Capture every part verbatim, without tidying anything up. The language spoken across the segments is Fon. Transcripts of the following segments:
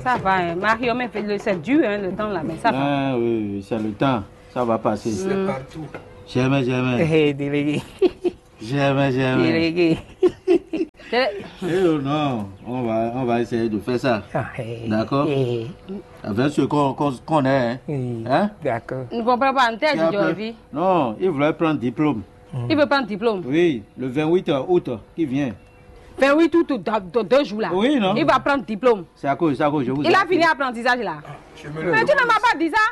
Ça va, hein. Mario, mais le- c'est dur, hein, le temps là, mais ça va. Ah oui, oui, c'est le temps. Ça va passer. C'est partout. Jamais, jamais. Hey, délégué. Jamais, jamais. Délégué. Eh oh non, on va, on va essayer de faire ça. Ah, hey, d'accord, hey. Avec ce qu'on qu'on- qu'on est. Hein? Hein? D'accord. Ne comprends pas, en tête, non, il voulait prendre diplôme. Il veut prendre diplôme. Oui, le vingt-huit août qui vient. Vingt-huit août, dans, dans deux jours là. Oui, non? Il va prendre diplôme. C'est à cause, c'est à cause, je vous. Il a fini l'apprentissage là. Mais tu ne m'as pas dit ça.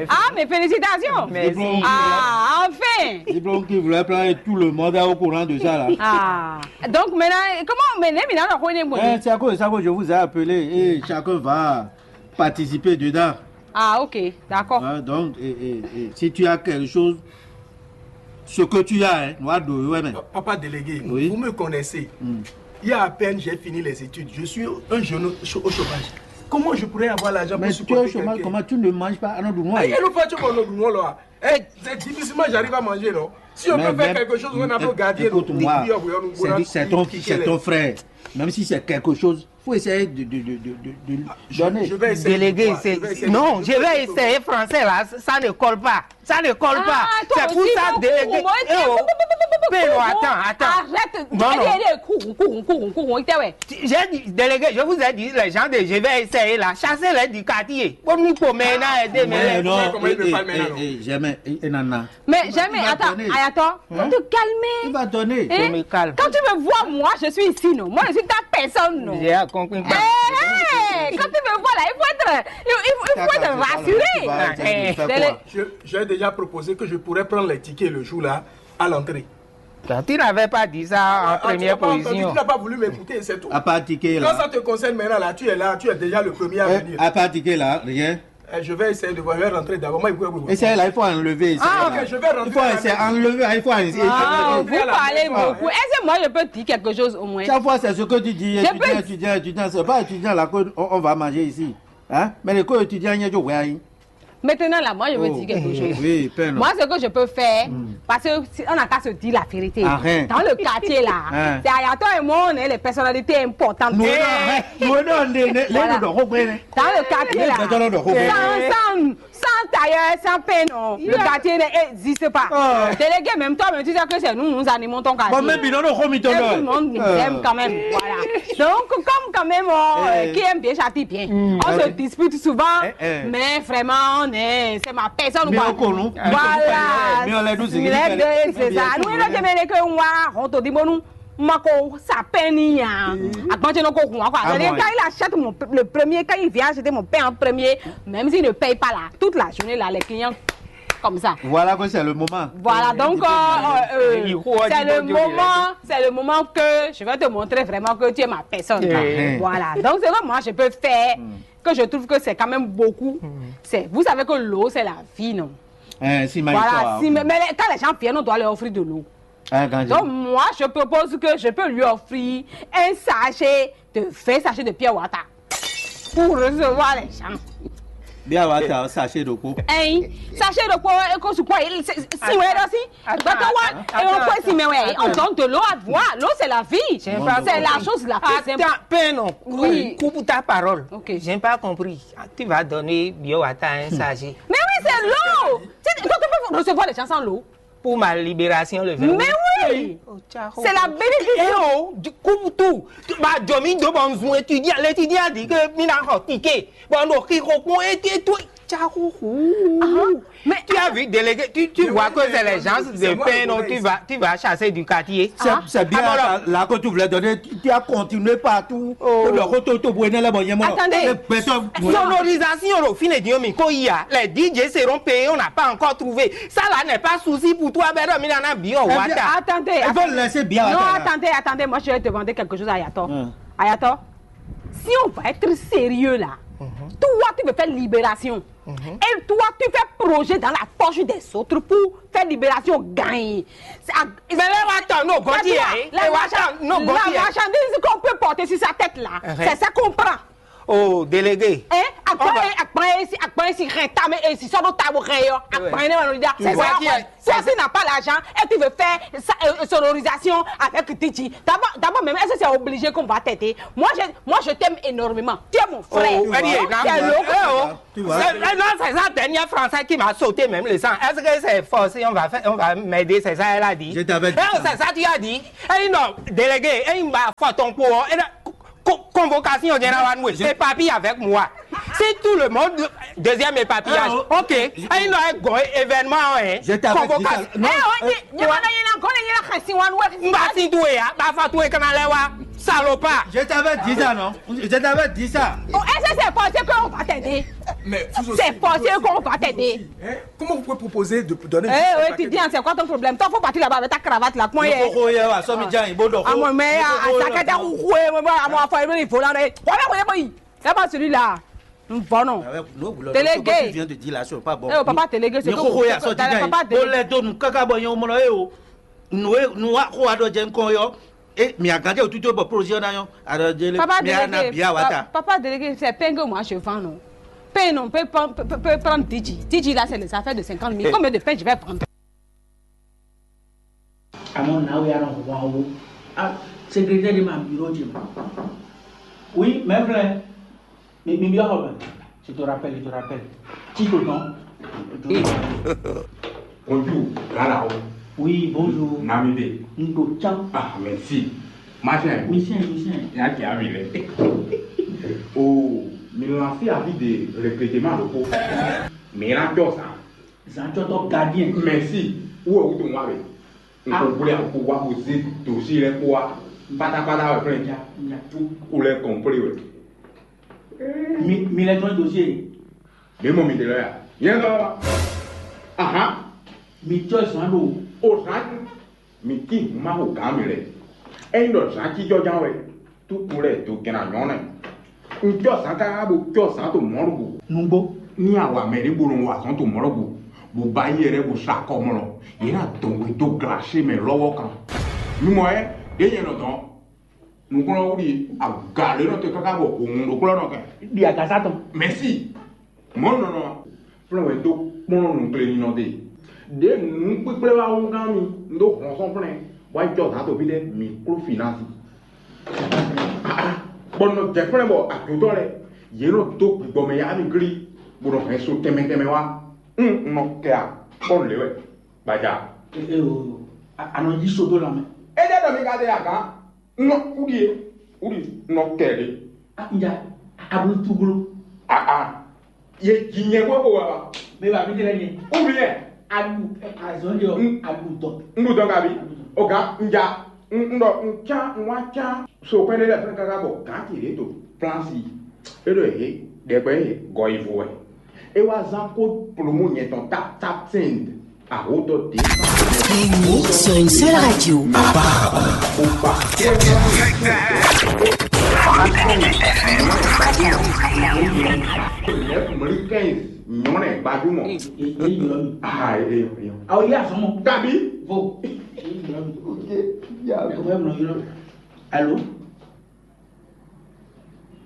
Ah, mes félicitations. Merci. Ah, enfin. Diplôme qui voulait prendre, tout le monde est au courant de ça là. Ah, donc maintenant, comment, mais maintenant, on est bon. Eh, c'est à cause, c'est à cause, je vous ai appelé et chacun va participer dedans. Ah, ok, d'accord. Hein, donc, et, et- et si tu as quelque chose, ce que tu as, hein, noir de ouais, mais. Papa délégué, oui, vous me connaissez. Il y a à peine j'ai fini les études, je suis un jeune au chômage. Comment je pourrais avoir l'argent pour supporter quelqu'un? Mais tu es au chômage, comment tu ne manges pas? Ah non, du noir. Eh, c'est difficilement j'arrive à manger, non? Si on peut faire quelque chose, on a beau garder. Écoute-moi, c'est ton frère. Même si c'est quelque chose, faut essayer de, de, de, de, de donner. Je vais essayer. Délégué, c'est. Non, je vais essayer français là. Ça ne colle pas. Ça ne colle pas. C'est pour ça, délégué. Eh oh. Pélo, attends, attends. Arrête. Non, non. J'ai dit, délégué, je vous ai dit, les gens de je vais essayer là. Chassez-les du quartier. Pour nous, pour maintenant, aider. Mais non, jamais, nana. Mais jamais, attends, Ayato, faut te calmer. Il va donner. Je me calme. Quand tu me vois, moi, je suis ici, non? Moi, je suis ta personne, non? J'ai compris. Quand tu me vois là, il faut être, il, il faut être rassuré. J'ai déjà proposé que je pourrais prendre les tickets le jour-là à l'entrée. Tu n'avais pas dit ça en première position. Tu n'as pas voulu m'écouter, c'est tout. À part ticket là. Quand ça te concerne maintenant, là, tu es là, tu es déjà le premier à venir. À part ticket là, rien. Eh, je vais essayer de voir, je vais rentrer d'abord. Moi, il faut. Essaye là, il faut enlever. Ah, ok, je vais rentrer. Il faut essayer, enlever, il faut essayer. Ah, vous parlez beaucoup. Est-ce que moi, je peux dire quelque chose au moins? Chaque fois, c'est ce que tu dis, étudiant, étudiant, étudiant, c'est pas étudiant là qu'on on va manger ici. Hein? Mais les co-étudiants, il y a du rien. Maintenant, là, moi, je veux dire quelque chose. Oui, père. Moi, ce que je peux faire, parce que on n'a qu'à se dire la vérité. Dans le quartier, là, c'est Ayato et moi, on est les personnalités importantes. Nous, on est les. Dans le quartier, là, sans, sans, sans tailleur, sans pain, non. Le quartier n'existe pas. Délégué, même toi, mais tu sais que c'est nous, nous animons ton quartier. Bon, mais tout le monde nous aime quand même. Voilà. Donc, comme quand même, qui aime bien, châtie bien. On se dispute souvent, mais vraiment, on est, c'est ma personne. Voilà. C'est ça. Nous, on a jamais que on va rentrer. Mako, ça peine ya. Agbanje no ko hun akwa. Quand il achète mon, le premier, quand il vient acheter mon pain en premier, même s'il ne paye pas là, toute la journée là, les clients comme ça. Voilà que c'est le moment. Voilà, donc c'est le moment, c'est le moment que je vais te montrer vraiment que tu es ma personne. Voilà, donc c'est vraiment moi je peux faire que je trouve que c'est quand même beaucoup. C'est, vous savez que l'eau c'est la vie, non? Voilà, si, mais, mais quand les gens viennent, on doit leur offrir de l'eau. Donc moi, je propose que je peux lui offrir un sachet de vingt sachets de pure water pour recevoir les gens. Pure water, sachet de quoi? Hein? Sachet de quoi? Et qu'on se quoi? Si ouais aussi. Quand on voit et on peut s'y mais ouais, on donne de l'eau à boire. L'eau, c'est la vie. C'est la chose la plus importante. Attends, non. Oui. Coupe ta parole. Ok. J'ai pas compris. Tu vas donner bio à un sachet. Mais oui, c'est l'eau. Quand on peut recevoir les gens sans l'eau. Pour ma libération le vingt. Mais oui. C'est la bénédiction. Eh oh, coupe tout. Bah, Jomi, de bon, étudiant, l'étudiant dit que il a ticket. Bon, donc, il reprend et tout. Mais tu as vu, délégué, tu, tu vois que c'est les gens de pain, non, tu vas, tu vas chasser du quartier. C'est bien là que tu voulais donner, tu as continué partout. Attendez. Sonorisation, le fin de Diomi, quand il y a, les D J seront payés, on n'a pas encore trouvé. Ça là n'est pas souci pour toi, Bédon, mais il y en a bien. Attendez. Il faut laisser bien. Non, attendez, attendez, moi je vais demander quelque chose à Ayato. Ayato, si on va être sérieux là, toi tu veux faire libération. Et toi, tu fais projet dans la poche des autres pour faire libération, gagner. Mais là, attends, non, la marchandise qu'on peut porter sur sa tête là, c'est ça qu'on prend. Oh, délégué. Hein? Agban e agban e si agban e si hɛn ta mɛ e si sɔ́ ɖó ta bó hɛn yɔ. Agban e ne ma nɔ da. C'est ça qui est. Toi aussi n'a pas l'argent et tu veux faire sa- euh, sonorisation avec Titi. D'abord, d'abord même, est-ce que c'est obligé qu'on va t'aider? Moi, je, moi, je t'aime énormément. Tu es mon frère. Oh, elle y est, là. Tu es le- Eh, oh. Tu vois? C'est- eh, non, c'est ça, dernier français qui m'a sauté même le sang. Est-ce que c'est forcé, on va faire, on va m'aider, c'est ça, elle a dit. Je t'avais dit Eh, oh, ça. C'est ça, tu as dit. Eh, non, délégué, eh, il m'a foutu ton pot, eh, non, co- convocation générale anwɛ. Éparpillé avec moi. Si tout le monde, deuxième éparpillage. Ah, oh. Ok. Ayi nɔ ego événement, hein. Je t'avais dit ça. Convocation. Non, Eh, on dit, euh, nyama na yena gɔn yena xɛsi wan wɛ. N ba si tu ya, ba fa tu e kana lɛ wa. Salopard. Je t'avais dit ça, non? Je t'avais dit ça. Oh, est-ce que c'est forcé qu'on va t'aider? Mais vous aussi, C'est forcé vous aussi, qu'on va vous t'aider. aussi, hein? Comment vous pouvez proposer de donner Eh, juste un ouais, paquet tu dis, de hein, c'est quoi ton problème? Toi, faut partir là-bas avec ta cravate là. Comment il est? Kókó yẹ wa sọmi jan ibo dọ. Àmọ́ mẹ a sakada kuku ẹ mọ àmọ́ afọ ẹ lórí ìfọlá rẹ. Wọ́n bẹ wọ́n yẹ bọ yìí. Ẹ bá sùn lílà. N vọ nù. Avec nous, vous, Télé ce que gay. Tu viens de dire là, c'est pas bon. Eh, oh, papa télé gay, c'est Ni comme- kókó yà sọ ti Papa jan yìí. Télé Bó gay. Lẹ dó nu káká bọ yẹn o mọ lọ yé o. Nu e nu wa kó wa dɔ jẹ nkɔ yɔ. E mi aganjɛ o tutu bɔ projet na yɔ. Adɔ jele Papa mi ana délégué, bia wa pa- ta. Papa délégué, c'est pain que moi je vends, non? Pain, non, peut prendre, peut, peut, peut prendre Didji. Didji, là, c'est les affaires de cinquante mille. Combien de pain je vais prendre? Àmọ́ now we are on one o. Ah, secrétaire de ma bureau de ma. Oui, mais vrai. Mais, mais bien, je te rappelle, je te rappelle. Tito, non? Bonjour, Lalao. Oui, bonjour. Namide. Ndo tcham. Ah, merci. Machin. Mission, mission. Ya qui a vu. Oh, mi lancé avis de recrutement locaux. Mais là, tu ça. Zan cɔtɔ gardien. Merci. Wo o to wa be. N ko gblé a ko wa ko zé dossier lɛ ko wa. Pátápátá wɛ plɛn. Ja, ja. Tout couleur complet wɛ. Mi mi lɛ tɔn dossier. Mi mɔ mi de lɛ ya. Yɛn dɔ. Ahan. Mi tɔ zan do. O zan. Mi ti ma ko gan mi lɛ. Eyin dɔ zan ci jɔjan wɛ. Tukú lɛ do gɛn anyɔ́ nɛ. Un cɔ́ zǎn káká bó cɔ́ zǎn to mɔ̌ ɖo gǔ. Nǔgbó. Ní a wa mɛ ɖé bó nɔ wa azɔ̌ to mɔ̌ ɖo gǔ, bó ba yí ɛɖɛ́ bó sa kɔmlɔ, yě ná dɔn we dó glaṣé mɛ lɔ́wọ́ kan. Mi mɔ ɛ, ɖě nyɛ nɔ dɔn. Nǔkplɔ́n wúɖi aga lě nɔ te káká bɔ hǔn ɖokplɔ́ nɔ kɛ. Ɖi agasa tɔn. Mɛ̌si. Mɔ̌ nɔ nɔ. Flɛ́n wɛ dó kplɔ́n nǔkplé ninɔ ɖe. Ɖě nǔ kpíkplé wá wú gán mi, un ɖó hlɔ̌nhlɔ́n flɛ́n, bó wá jɔ zǎn to fí ɖé, mǐ kló finasi. Bɔ un nɔ jɛ flɛ́n bɔ ajotɔ́ lɛ́ɛ, yě nɔ dó gbigbɔ mɛ yá mi glí, bó nɔ hɛn so tɛnmɛ tɛnmɛ wá. Un un nɔ kɛ a, bɔ un lě wɛ, gbaja. Ee o, a nɔ yí so dó lanmɛ. É jẹ́ ɖɔ mi ka ɖe agǎn, un nɔ kú ɖíe, kú ɖi un nɔ kɛ ɖě. A un ja a blu tuglo. Aa, ye ji nyɛ bó ko wa wa. Mɛ ba mi tɛ lɛ nyɛ. Ou bien, A ɖu azɔn jɔ, un a ɖu dɔ. Un ɖu dɔ kabi. O ga un ja un un ɖɔ un can un wa can so kpɛn ɖe lɛ fɛn kaka bɔ gan ti ɖe to plan si. E ɖo he ɖɛgbɛ he gɔ yi vo wɛ. E wa zan ko plomo nyɛ tɔn tap tap send. Ahotɔ de. Réunis sur une seule radio. Mɔli quinze nyɔnɛ gbajúmọ̀. Èyí yọ mi. Ah, èyí yọ. Àwọn yìí àsọmọ. Tàbí. Vo. Èyí yọ mi. Ok. Ẹ̀wẹ́ mọ̀ yọ. Alo.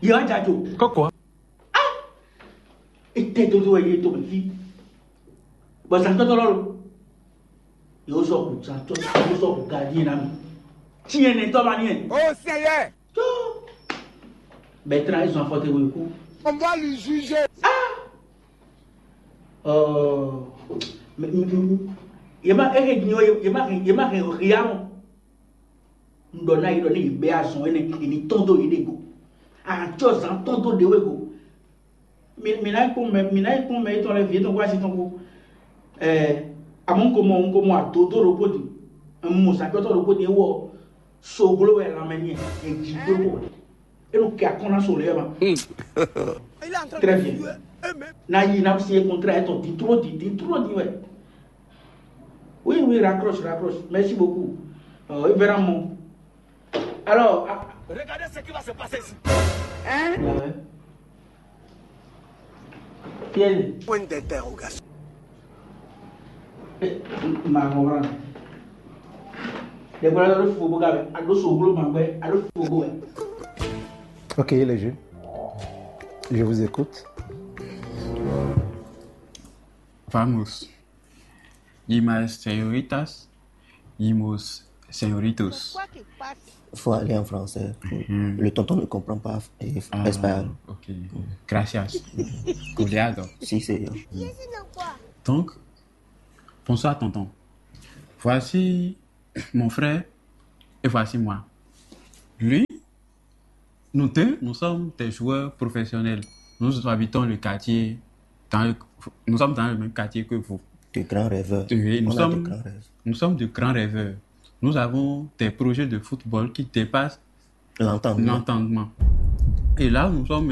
Yọ ajajo. Kọ́kọ́. Ete dodo wɛ ye to mɛ fi. Bɔn zantɔtɔ lɔ lo. Yóò sɔ kù zantɔ, yóò sɔ kù gardien na mi. Tiɲɛ nɛ tɔ ma niɛ. Oh Seigneur. Tó. Bertrand, ils ont affronté le coup. On va le juger. Ah. Euh, mais, mais, mais, yema ehe dinyo yema he yema he riamo. Ŋɖɔ ná yi ɖɔ ní yi bɛ azɔn énɛ́, yi ní tɔ́n dó yi ɖe go. Atsɔ zǎn tɔ́n dó ɖě wé go. Mi mi ná yi kpɔ́n mɛ mi ná yi kpɔ́n mɛ yětɔn lɛ́ɛ vǐ yětɔn kpó asi tɔn kpó. Ɛɛ, amɔ un ko mɔ un ko mɔ adodó ɖokpó din, un mɔ zǎnkpɛ́tɔ́ ɖokpó din, é wɔ soglo wɛ lanmɛ n'i, è jǐ dó kpó. É ɖo kɛ akɔ́n ná so lě wɛ ma. Très bien. Ná yi ná signé contrat étɔn din tró din din tró din wɛ. Oui, oui, raccroche, raccroche. Merci beaucoup. Euh, vraiment. Alors, ah, Regardez ce qui va se passer ici. Hein? Ouais. Qui est Point d'interrogation. Eh, ma comprendre. Des fois, là, le faux boga, à l'eau sur le boga, à l'eau sur le boga. Ok, les jeux. Je vous écoute. Vamos. Y más señoritas, y más señoritos. Faut aller en français. Le tonton ne comprend pas espagnol. Ok. Gracias. Cuidado. Si, c'est. Donc, bonsoir, tonton. Voici mon frère et voici moi. Lui, nous deux, nous sommes des joueurs professionnels. Nous habitons le quartier, dans le- nous sommes dans le même quartier que vous. De grands rêveurs. Oui, nous On a sommes- de grands rêves. Nous sommes de grands rêveurs. Nous avons des projets de football qui dépassent L'entendement. l'entendement. Et là, nous sommes